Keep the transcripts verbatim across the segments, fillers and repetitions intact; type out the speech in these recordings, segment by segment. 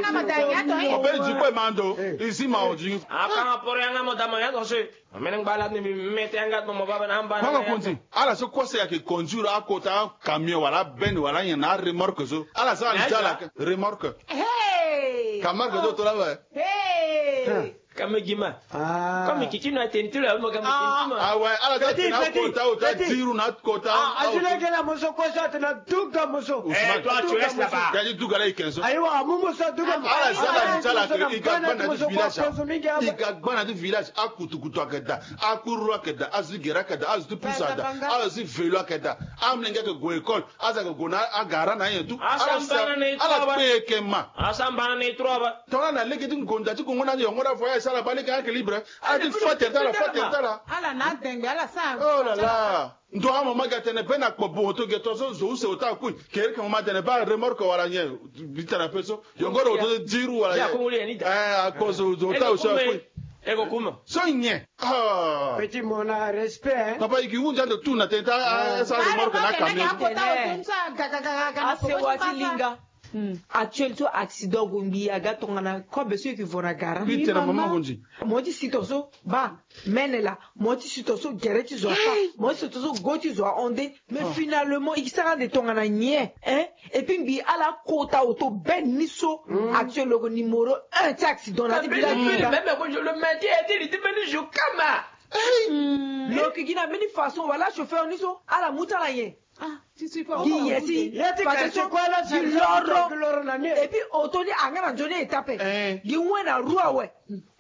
Obeli du kue mando. Izi ma odi. Akanga poro yanga mo dama ya to se. Amene ngba la ni mi mete yanga to mo baba na amba. Mama konzi. Ala so kose ya ke conduire akota camion wala ben wala nyen na remorque so. Ala so ali ti ala ke remorque. Hey. Camargue do to la we. Hey. Kame gima. Ah. Comme kiki no atenti lo ya mo kame tenti mo. Ah ouais, ala ta tena kota o ta diru na kota. Ah, azile gela moso ko sa tena duga moso. Eh, toi tu restes là-bas. Kadi duga la ikenso. Ayiwa, amu moso duga moso. Ala zaba ni tala ke iga gbana du village. Iga gbana du village. Akutukutu akeda. Akururu akeda. Azu gera akeda. Azu tu pusa da. Azu vélo akeda. Amlenge ke go école. Aza ke go na agara na ye tu. Ala kpe ye ke ma. Asambana na ye trois ba. Tongana na lege ti ngonda ti kongo na yongo na voyage sala ba lege ake libre. Ala ti fa tene ti ala, fa tene ti ala. Ala na dengbe, ala sa. Oh là là. Ndo ama ma ga tene be na kpo bo to ge to so zo use ota kui. Kere ke ma tene ba remorque wala nye. Bi tene pe so. Yongo ro to diru wala nye. Eh, akpo zo zo ota use kui. Eko kuma. So nye. Ah. Petit mon a respect, hein. Papa, igi wunja ndo tu na tene ti a sa remorque na camion. Asewa ti linga. Hmm. Actuel so accident gue ngbi aga tongana kobe so eke vo na gara. Mbi tene mama gue nzi. Mo ti si to so ba mene la, mo ti si to so gere ti zo afa, mo ti si to so go ti zo ahonde. Mais finalement eke sara nde tongana nyen, hein? Et puis ngbi ala kota oto ben ni so. Hmm. Actuel lo gue numéro un ti accident na ti village. Même le matin a été le même jour kama. Lo eke gi na mbeni façon wala chauffeur ni so ala mu ti ala nyen? Gi ye si. Gi loro. Et puis oto ni anga na nzoni eta ape. Gi wen na roue awe.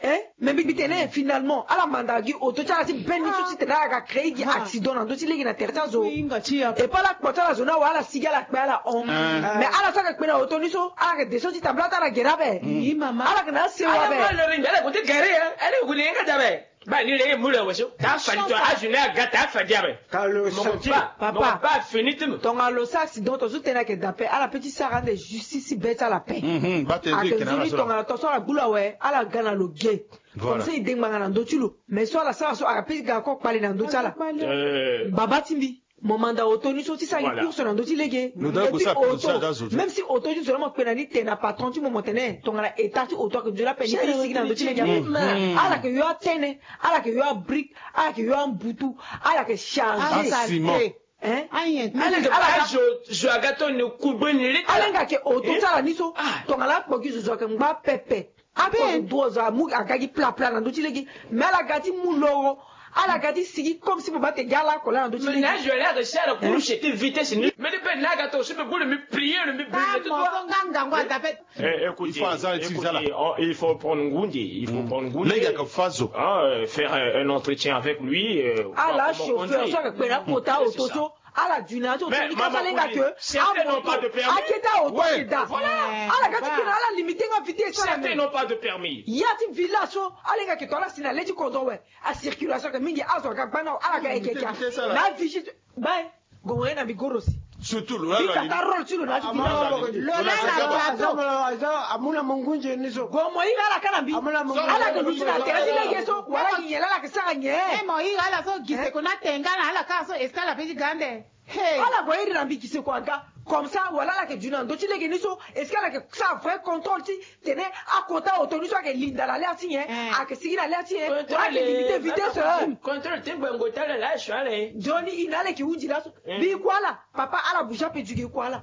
Eh, mais mbi tene finalement ala manda gi oto ti ala ti ben ni so ti tene ala ga créer gi accident na ndö ti lege na tere ti azo. Et puis ala kpo ti ala zo ni awe ala sigi ala kpe ala hon. Mais ala so ayeke kpe na oto ni so ala yeke descend ti tambula ti ala gere ape. Ala yeke na asewa ape. Ala yeke gue ti gere, ala yeke gue ti gere ape. Ba ni le ye mu le weso. Ta fadi to azu ni aga ta fadi abe. Kalo mo sati. Ba, papa. Mo ba fini ti mo. Tongana lo sa accident to so tene ayeke dape ala pe ti sara ande justice ti be ti ala pe. Mhm, ba tene ayeke zoni tongana to so ala gbu lo awe ala ga na lo ge. Voilà. Comme ça e de ngbanga na ndö ti lo. Mais so ala sara so ala pe ti ga ko kpale na ndö ti ala. Eh. Baba ti mbi. Mo manda oto ni so ti sara gi course na ndö ti lege. Et puis oto, même si oto ti zo la mo kpe na ni tene na patron ti mo mo tene tongana état ti oto ayeke nzoni ape ni pe ti sigi na ndö ti lege. Ala yeke yo atene, ala yeke yo abrique, ala yeke yo ambutu, ala yeke charge. Asima. Hein? Ala nga ke oto ti ala ni so tongana akpo gi zo zo ayeke ngba pepe. Ape. Ape. Azo duo azo amu aga gi plapla na ndö ti lege. Mais ala ga ti mu loro. Ala ga ti sigi comme si mo ba te gi ala ako laa na ndö ti lege. Mais na azo ala aga si ala kuru chete vitesse ni. Mais ni pe na aga to so pe bulu mi prier mi brille tout droit. Mo so nga ngangu adape. Eh, écoutez, il faut azala ti écoutez, zala. Oh, il faut prendre ngunzi, il faut prendre ngunzi. Lege aka fa zo. Ah, euh, faire euh, un entretien avec lui. Euh, ala voir comment chauffeur conduire. So aka kpe na kota oto so. Ala duna ti oto ni kasa alenga ke amoto akete aoto ake da. Ala ga ti kena ala limite nga vitesse ala. Certains n'ont pas de permis. Ya ti village so alenga ke to ala si na le ti kodro we. A circulation ke mingi azo aga gba na ala ga eke kia na vigie. Bae gongo ye na mbi gorosi. Surtout lo la. Bika ta role ti lo na ti village. Lo la na plateau. Amuna mungunje ni so. Gomo yi ala kana mbi. Ala ke luti na tere ti lege so wala nyen la ala ke sara nyen. Mo yi ala so gise ko na tenga na ala ka so escale pe ti gande. Hey. Ala gue iri na mbi gise kua ga. Comme ça wala ala yeke du na ndö ti lege ni so est-ce que ala yeke sara vrai contrôle ti tene akota oto ni so ayeke linda na le ti nyen? Ayeke sigi na le ti nyen? Wala ayeke limite vitesse. Contrôle ti gbengo ti ala la asu ala e. Nzoni ina ala yeke hunzi laso. Mbi kua ala papa ala bouge ape duge kua ala.